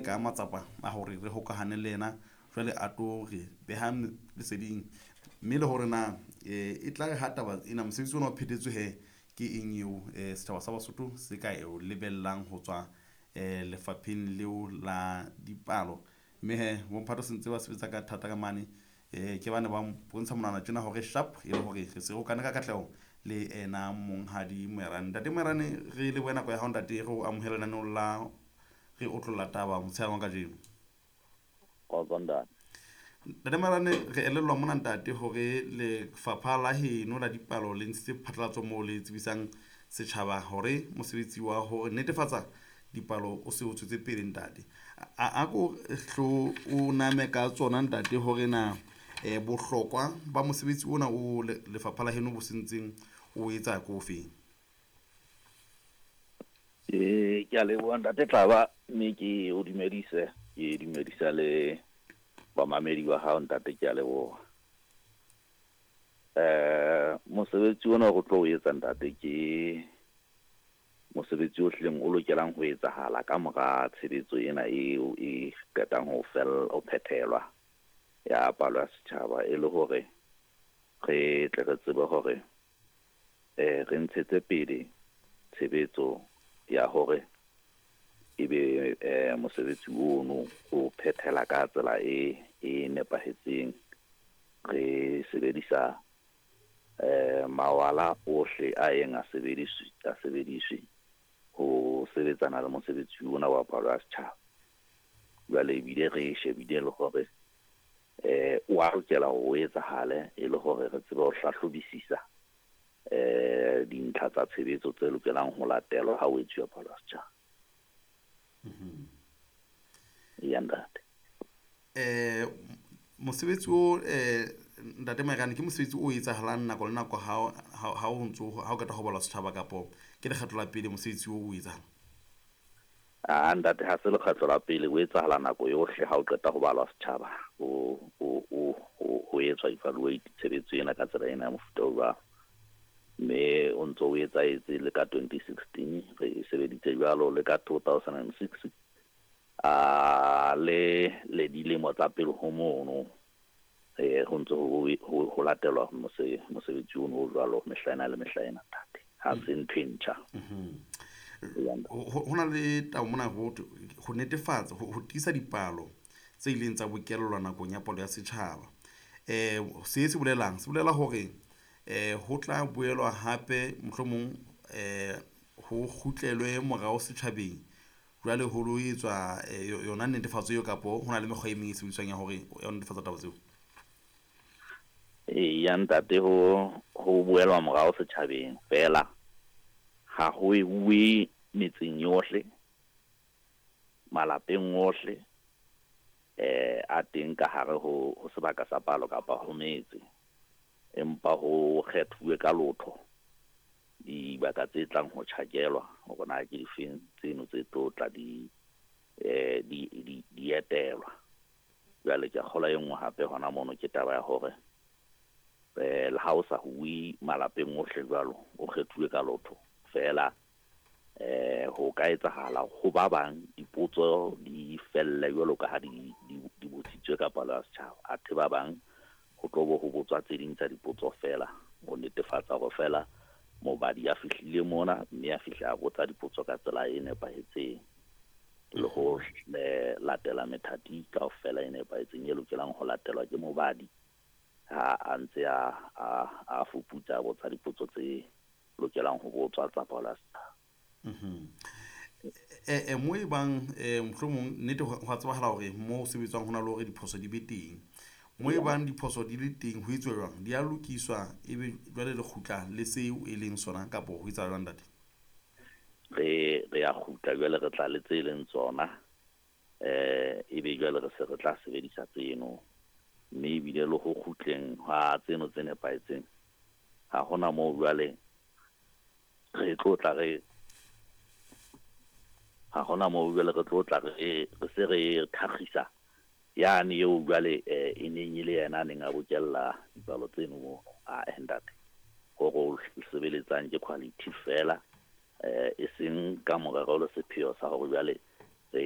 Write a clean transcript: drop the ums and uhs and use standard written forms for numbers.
ka matsapa a hore re hokahane le yena jwale a tlo re beha leseding mme le hore na e tla re ha taba ena mosebetsi ona o phethetswe he ke eng eo setjhaba sa Basotho se ka e lebellang ho tswa lefapheng leo la dipalo. Mme he bomphato se ntse ba sebetsa ka thata ka mane ke bane ba bontsha monwana tjena hore sharp e le hore re se hokane ka katleho le ena monghadi Moerane. Ntate Moerane, re lebohe nako ya hao ntate, re o amohele lenaneong la re otlolla taba motshehare wa kajeno. Kgotso ntate. Ntate Moerane, re elellwa mona ntate hore lefapha la heno la dipalo le ntshitse phatlalatso moo le tsebisang setjhaba hore mosebetsi wa hore netefatsa dipalo o se o tswetse pele ntate. A ko hlo o name ka tsona ntate hore na bohlokwa ba mosebetsi ona o lefapha la heno bo sentseng o etsa ko feng? Ke a leboha ntate Tlaba, mme ke o dumedise, ke dumedisa le bamamedi ba hao ntate, ke a leboha. Mosebetsi ona o tlo o etsa ntate ke mosebetsi o hlileng o lokelang ho etsahala ka mora tshebetso ena eo e qetang ho ho phethelwa ya palo ya setjhaba, e le hore re tle re tsebe hore re ntshetse pele tshebetso ya hore ebe mosebetsi ono o phethela ka tsela e nepahetseng, re sebedisa mawala ohle a yeng a sebediswe ho sebetsana le mosebetsi ona wa palo ya setjhaba. Jwale ebile re shebile le hore o a lokela ho etsahale e le hore re tsebe ho hlahlobisisa dintlha tsa tshebetso tse lokelang ho latelwa ha o etsuwa palo ya setjhaba. Ya ntate. Mosebetsi o ntate Moerane ke mosebetsi o etsahalang nako le nako ha o ntso ha o qeta ho balwa setjhaba, kapo ke lekgetlo la pele mosebetsi o etsahala? Ah ntate, ha se lekgetlo la pele, o etsahala nako yohle ha o qeta ho balwa setjhaba, o etswa evaluate tshebetso ena ka tsela ena ya mofuta o jwalo. Mme o ntso o etsahetse le ka 2016 re sebeditse jwalo, le ka 2006 a le dilemo tsa pele ho mono ho ntse ho latelwa mosebetsi ono o jwalo mehla ena le mehla ena ntate, ha se ntho e ntjha. Ho na le taba mona ho netefatsa ho tiisa dipalo tse ileng tsa bokellwa nakong ya palo ya setjhaba. Se se bolelang, se bolela hore ho tla boelwa hape mohlomong ho kgutlelwe morao setjhabeng jwale ho lo etswa yona netefatso eo, kapo ho na le mekgwa e meng e sebediswang ya hore ya ho netefatsa taba tseo? Ya ntate, ho boelwa morao setjhabeng fela, ha ho uwe metseng yohle, malapeng ohle a teng ka hare ho sebaka sa palo kapa ho metse, empa ho kgethuwe ka lotho dibaka tse tlang ho tjhakelwa hore na ke difeng tseno tse tlo tla di etelwa. Jwale ke a kgolwa e nngwe hape hona mono ke taba ya hore le ha o sa huwe malapeng ohle jwalo, o kgethuwe ka lotho fela, ho ka etsahala ho ba bang dipotso di felle jwalo ka ha di botsitswe ka palo ya setjhaba, athe ba bang ho tlo bo ho botswa tse ding tsa dipotso fela ho netefatsa hore fela mobadi a fihlile mona mme a fihla a botsa dipotso ka tsela e nepahetseng le ho latela methati kaofela e nepahetseng e lokelang ho latelwa ke mobadi ha a ntse a fuputsa a botsa dipotso tse lokelang ho botswa tsa palo ya setjhaba. Mo e bang mohlomong nnete ho a tsebahala hore mo ho sebetswang ho na le hore diphoso di be teng. Mo e bang diphoso di le teng ho etswa jwang? Di a lokiswa ebe jwale le kgutla le seo e leng sona, kapo ho etsahala jwang ntate? Re a kgutla jwale, re tla le tse leng tsona, ebe jwale re se re tla sebedisa tseno, mme ebile le ho kgutleng ha tseno tse nepahetseng ha hona moo jwale re tlo tla re ha hona moo jwale re tlo tla re se re thakgisa yane eo jwale e neng e le yena a neng a bokella dipalo tseno mo a ntate. Hore o sebeletsang ke quality fela, e seng ka morero le sepheo sa hore jwale